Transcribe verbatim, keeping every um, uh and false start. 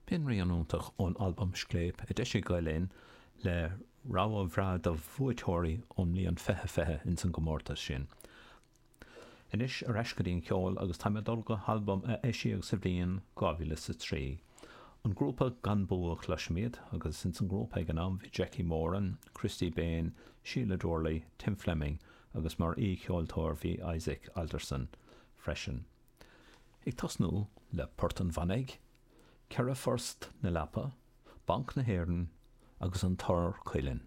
B'in rian iontach ón albam Scléip a d'eisigh Gael Linn le rogha bhreá de bhuaiteoirí ón mbliain fiche fiche ins an gcomórtas sin. Anois ar ais go dtí an ceol agus táim ag dul go halbam a eisíodh sa bhliain dhá mhíle is a trí. An grúpa Gan Bua a chloisimid agus ins an ngrúpa ag an am bhí Jackie Moran, Christy Bain, Sheila Doorley, Tim Fleming agus mar aoi-cheoltóir bhí Isaac Alderson freisin. Ag tosnú le Port an Mhanaigh, Ceithre Phort na Leapa, Banc na hÉireann agus an Tor Cuilinn.